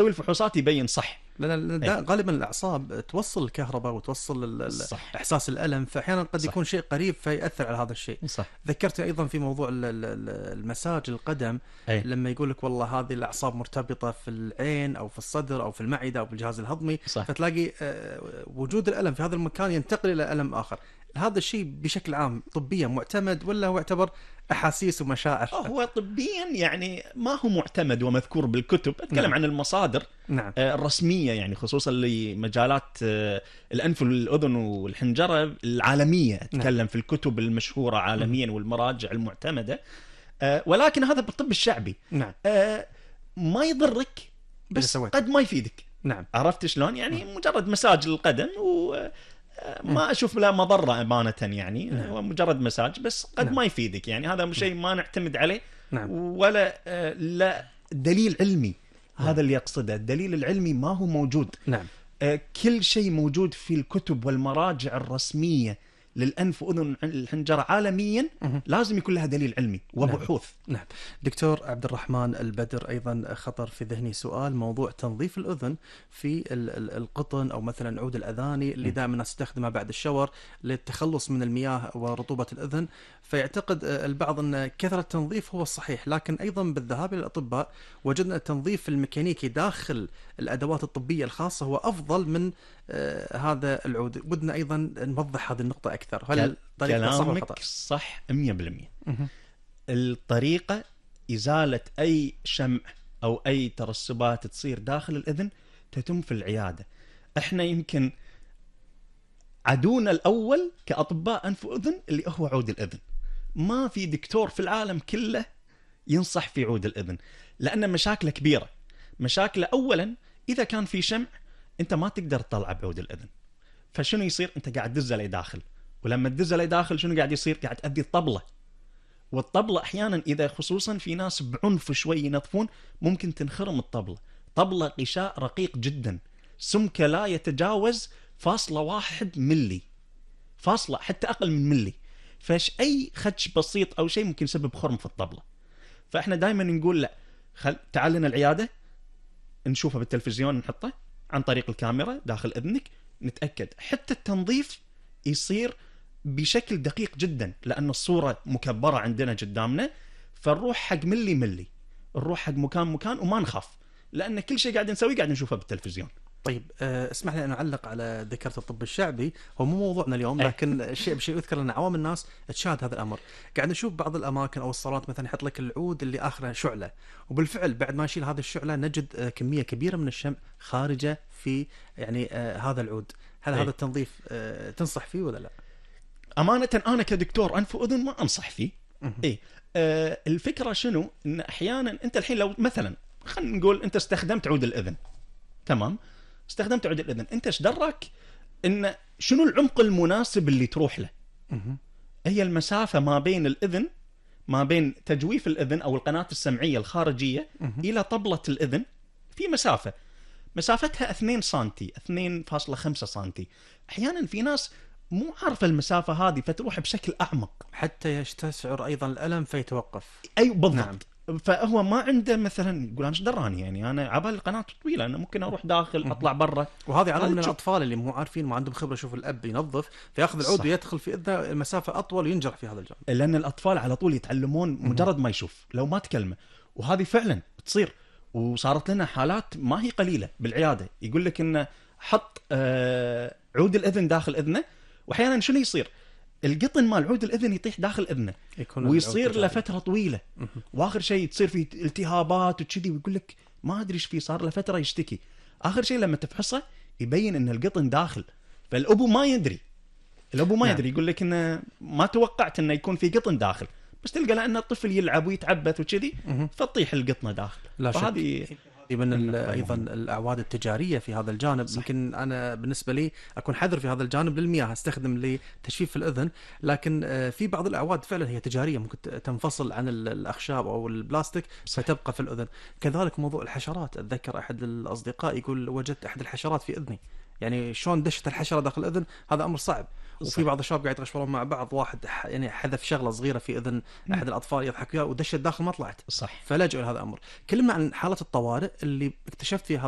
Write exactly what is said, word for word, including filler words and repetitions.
يسوي الفحوصات يبين صح. لأن أي. غالبا الأعصاب توصل الكهرباء وتوصل ال- ال- صح. إحساس الألم، فأحيانا قد صح. يكون شيء قريب فيأثر على هذا الشيء. صح. ذكرت أيضا في موضوع ال- ال- ال- المساج القدم، أي. لما يقول لك والله هذه الأعصاب مرتبطة في العين أو في الصدر أو في المعدة أو في الجهاز الهضمي، صح. فتلاقي آه، وجود الألم في هذا المكان ينتقل إلى ألم آخر. هذا الشيء بشكل عام طبيا معتمد ولا هو يعتبر أحاسيس ومشاعر؟ هو طبيا يعني ما هو معتمد ومذكور بالكتب. أتكلم نعم. عن المصادر نعم. آه، الرسمية، يعني خصوصا لمجالات آه، الأنف والأذن والحنجرة العالمية. أتكلم نعم. في الكتب المشهورة عالميا والمراجع المعتمدة. آه، ولكن هذا بالطب الشعبي. نعم. آه، ما يضرك إذا بس سويت. قد ما يفيدك. نعم. عرفت شلون؟ يعني مجرد مساج القدم وما أشوف له مضرة أمانة، يعني نعم. هو مجرد مساج بس قد نعم. ما يفيدك. يعني هذا شيء ما نعتمد عليه. نعم. ولا آه، لا دليل علمي. هذا اللي يقصده، الدليل العلمي ما هو موجود. نعم. آه، كل شيء موجود في الكتب والمراجع الرسمية للأنف وأذن الحنجرة عالميا مه. لازم يكون لها دليل علمي وبحوث. نعم. دكتور عبد الرحمن البدر، أيضا خطر في ذهني سؤال موضوع تنظيف الأذن في ال- ال- القطن أو مثلا عود الأذاني اللي دائما الناس تستخدمها بعد الشاور للتخلص من المياه ورطوبة الأذن. فيعتقد البعض أن كثرة التنظيف هو الصحيح، لكن أيضا بالذهاب إلى الأطباء وجدنا التنظيف الميكانيكي داخل الأدوات الطبية الخاصة هو أفضل من آه هذا العود. بدنا أيضا نوضح هذه النقطة أكثر. هل طريقة صح ولا خطأ؟ كلامك صح مية بالمية. مه. الطريقة إزالة أي شمع أو أي ترسبات تصير داخل الأذن تتم في العيادة. إحنا يمكن عدونا الأول كأطباء أنف وأذن اللي هو عود الأذن. ما في دكتور في العالم كله ينصح في عود الأذن، لأن مشاكله كبيرة. مشاكله أولا إذا كان في شمع أنت ما تقدر تطلع بعود الأذن، فشنو يصير؟ أنت قاعد تدزه لي داخل، ولما تدزه لي داخل شنو قاعد يصير؟ قاعد تأذي الطبلة. والطبلة أحيانا إذا خصوصا في ناس بعنف شوي ينظفون ممكن تنخرم الطبلة. طبلة غشاء رقيق جدا، سمكه لا يتجاوز فاصلة واحد ملي، فاصلة حتى أقل من ملي. فاش أي خدش بسيط أو شيء ممكن يسبب خرم في الطبلة. فإحنا دائما نقول لا، خل... تعال لنا العيادة نشوفها بالتلفزيون، نحطه عن طريق الكاميرا داخل إذنك، نتأكد. حتى التنظيف يصير بشكل دقيق جدا لأن الصورة مكبرة عندنا قدامنا، فنروح حق ملي ملي، نروح حق مكان مكان وما نخاف، لأن كل شيء قاعد نسويه قاعد نشوفه بالتلفزيون. طيب أه اسمح لي أن أعلق على ذكرت الطب الشعبي، هو مو موضوعنا اليوم لكن الشيء بشيء يذكر أن عوام الناس تشاهد هذا الأمر. قاعد نشوف بعض الأماكن أو الصالات مثلا يحط لك العود اللي آخره شعلة، وبالفعل بعد ما نشيل هذه الشعلة نجد أه كمية كبيرة من الشمع خارجة في يعني أه هذا العود. هل أي. هذا التنظيف أه تنصح فيه ولا لا؟ أمانة أنا كدكتور أنف وأذن ما أنصح فيه. إيه آه الفكرة شنو؟ إن أحيانا أنت الحين لو مثلا خلينا نقول أنت استخدمت عود الأذن، تمام، استخدمت عود الأذن، أنت إيش دراك إن شنو العمق المناسب اللي تروح له؟ هي المسافة ما بين الأذن، ما بين تجويف الأذن أو القناة السمعية الخارجية إلى طبلة الأذن في مسافة، مسافتها اثنين سنتي، اثنين فاصلة خمسة سنتي. أحيانا في ناس مو عارفة المسافة هذه فتروح بشكل أعمق حتى يستشعر أيضا الألم فيتوقف. أي بالضبط. نعم. فهو ما عنده مثلا يقول أنا ايش دراني، يعني أنا عبال القناة طويلة أنا ممكن أروح داخل أطلع برا. وهذه على من تشوف. الأطفال اللي مو عارفين ما عندهم خبرة، شوف الأب ينظف فيأخذ العود ويدخل في إذنه المسافة أطول وينجرح في هذا الجانب. لأن الأطفال على طول يتعلمون مجرد ما يشوف لو ما تكلمه، وهذه فعلا بتصير. وصارت لنا حالات ما هي قليلة بالعيادة، يقول لك إنه حط آه عود الأذن داخل إذنه، وأحيانا شنو يصير؟ القطن مال عود الأذن يطيح داخل إذنه ويصير له فترة طويلة، وآخر شيء تصير فيه التهابات وكذي، ويقول لك ما أدري إيش فيه، صار له فترة يشتكي. آخر شيء لما تفحصه يبين إن القطن داخل، فالأبو ما يدري، الأبو ما نعم. يدري، يقول لك إنه ما توقعت إنه يكون في قطن داخل، بس تلقى لأن الطفل يلعب ويتعبث وكذي فتطيح القطنة داخل. لا فهذه من ايضا الاعواد التجاريه في هذا الجانب. يمكن انا بالنسبه لي اكون حذر في هذا الجانب للمياه، استخدم لتجفيف الاذن، لكن في بعض الاعواد فعلا هي تجاريه ممكن تنفصل عن الاخشاب او البلاستيك فتبقى في الاذن. كذلك موضوع الحشرات، اتذكر احد الاصدقاء يقول وجدت احد الحشرات في اذني، يعني شلون دشت الحشره داخل الاذن، هذا امر صعب. وفي صح. بعض الشباب قاعد يتغشمرون مع بعض، واحد ح- يعني حذف شغله صغيره في اذن احد الاطفال يضحك فيها ودشت داخل ما طلعت، صح. فلجأوا لهذا الامر. كلمنا عن حاله الطوارئ اللي اكتشفت فيها هذا